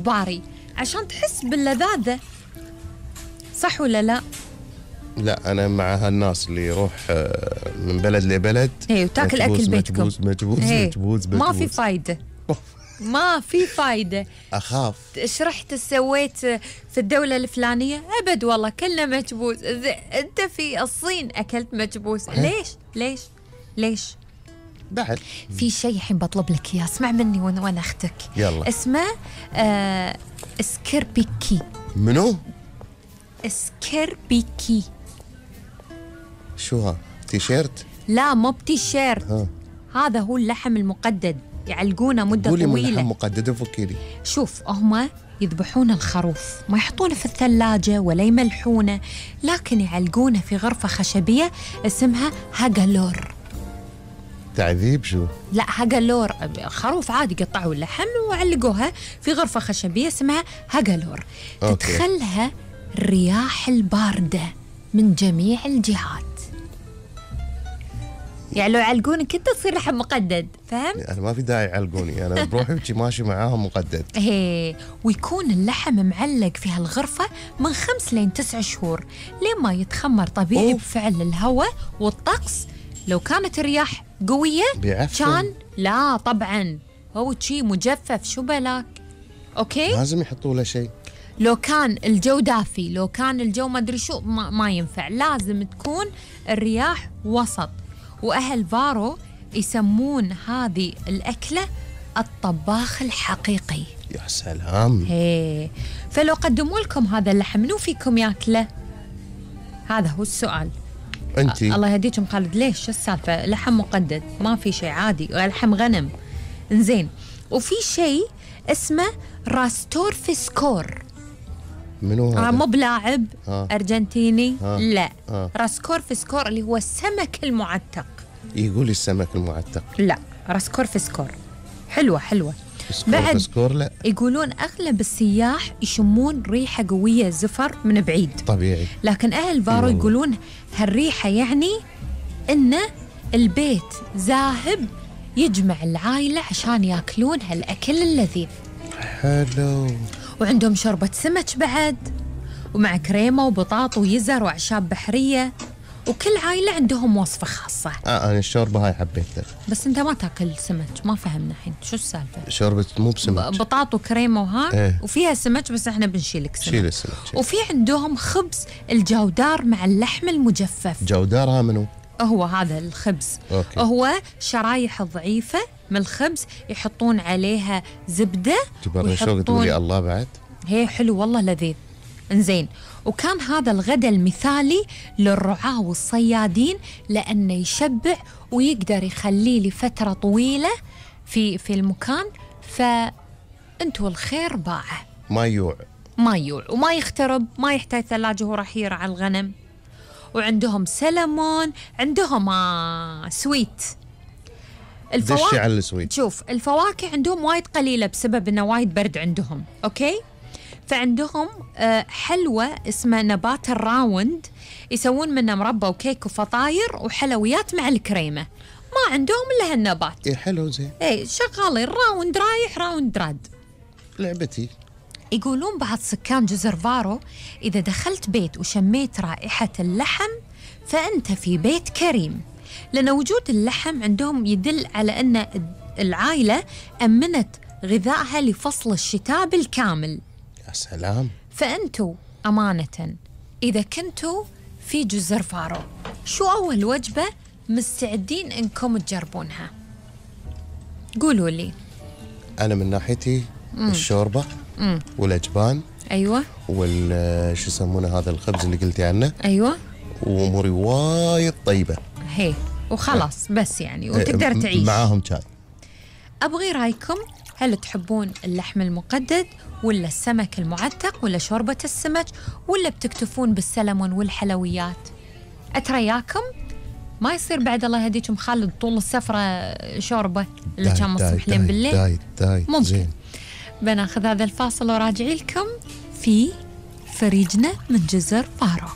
باري عشان تحس باللذاذة، صح ولا لا؟ لا أنا مع هالناس اللي يروح من بلد لبلد وتاكل أكل بيتكم مجبوز ما في فايدة ما في فايدة. أخاف إيش رحت سويت في الدولة الفلانية؟ أبد والله كلنا مجبوز. أنت في الصين أكلت مجبوز، ليش؟ بعد في شيء الحين بطلب لك إياه، اسمع مني وأنا أختك. يلا. اسمه سكربيكي. منو؟ سكربيكي. شو ها؟ تيشيرت؟ لا مو بتيشيرت، هذا هو اللحم المقدد، يعلقونه مدة طويلة. قولي من لحم مقدد فكيلي. شوف هم يذبحون الخروف، ما يحطونه في الثلاجة ولا يملحونه، لكن يعلقونه في غرفة خشبية اسمها هاجالور. تعذيب شو؟ لا هاجالور، خروف عادي قطعوا اللحم وعلقوها في غرفة خشبية اسمها هاجالور. تدخلها الرياح الباردة من جميع الجهات، يعني لو يعلقونك انت تصير لحم مقدد، فهم؟ انا ما في داعي يعلقوني، انا بروحي ماشي معاهم مقدد. ويكون اللحم معلق في هالغرفة من 5 لين 9 شهور لين ما يتخمر طبيعي بفعل الهواء والطقس. لو كانت الرياح قوية كان لا طبعا هو شي مجفف، شو بالك؟ اوكي؟ لازم يحطوا له شيء. لو كان الجو دافي، لو كان الجو ما ادري شو، ما ينفع، لازم تكون الرياح وسط. وأهل فارو يسمون هذه الأكلة الطباخ الحقيقي. يا سلام. فلو قدموا لكم هذا اللحم منو فيكم ياكله؟ هذا هو السؤال. أنتي الله يهديكم خالد، ليش؟ شو السالفة؟ لحم مقدد ما في شيء، عادي، لحم غنم. إنزين، وفي شيء اسمه راستورفسكور. منو هذا؟ مو بلاعب أرجنتيني. لا راسكورفسكور اللي هو السمك المعتق. يقول السمك المعتق؟ لا راسكورفسكور حلوة. بعد لا. يقولون أغلب السياح يشمون ريحة قوية زفر من بعيد طبيعي، لكن أهل فارو يقولون هالريحة يعني إن البيت ذاهب يجمع العائلة عشان ياكلون هالأكل اللذيذ. حلو. وعندهم شوربة سمك بعد، ومع كريمة وبطاط ويزر وأعشاب بحرية، وكل عائلة عندهم وصفة خاصة. أنا الشوربة هاي حبيتها، بس أنت ما تاكل سمك، ما فهمنا الحين شو السالفة. شوربة مو بسمك، بطاط وكريمة وها وفيها سمك، بس احنا بنشيلك سمك. شيل السمك. وفي عندهم خبز الجودار مع اللحم المجفف. جودارها منو؟ هو هذا الخبز. هو شرايح ضعيفة من الخبز يحطون عليها زبدة ويحطون تقولي الله بعد. هي حلو والله لذيذ. انزين، وكان هذا الغداء المثالي للرعاة والصيادين لأنه يشبع ويقدر يخليه لفترة طويلة في المكان، فأنتوا الخير باعه. ما يوع وما يخترب، ما يحتاج ثلاجة وهو راح يرعى الغنم. وعندهم سلمون، عندهم سويت. دشي على السويت. شوف الفواكه عندهم وايد قليلة بسبب انه وايد برد عندهم، اوكي؟ فعندهم حلوة اسمها نبات الراوند، يسوون منه مربى وكيك وفطاير وحلويات مع الكريمة. ما عندهم الا هالنبات. حلو زين. شغالين راوند رايح راوند راد، لعبتي. يقولون بعض سكان جزر فارو إذا دخلت بيت وشميت رائحة اللحم فأنت في بيت كريم، لأن وجود اللحم عندهم يدل على أن العائلة أمنت غذائها لفصل الشتاء بالكامل. يا سلام. فأنتوا أمانة إذا كنتوا في جزر فارو، شو أول وجبة مستعدين أنكم تجربونها؟ قولوا لي. أنا من ناحيتي الشوربة والأجبان. أيوة. شو يسمونه هذا الخبز اللي قلتي عنه. أيوة. وأموري وايد طيبة. وخلاص بس يعني وتقدر تعيش معاهم شاي. أبغي رأيكم، هل تحبون اللحم المقدد ولا السمك المعتق ولا شوربة السمك ولا بتكتفون بالسلمون والحلويات؟ أترياكم ما يصير بعد الله يهديكم خالد طول السفرة شوربة اللي كان مسموح لين بالليل. ممكن زين. بناخذ هذا الفاصل وراجعي لكم في فريجنا من جزر فارو.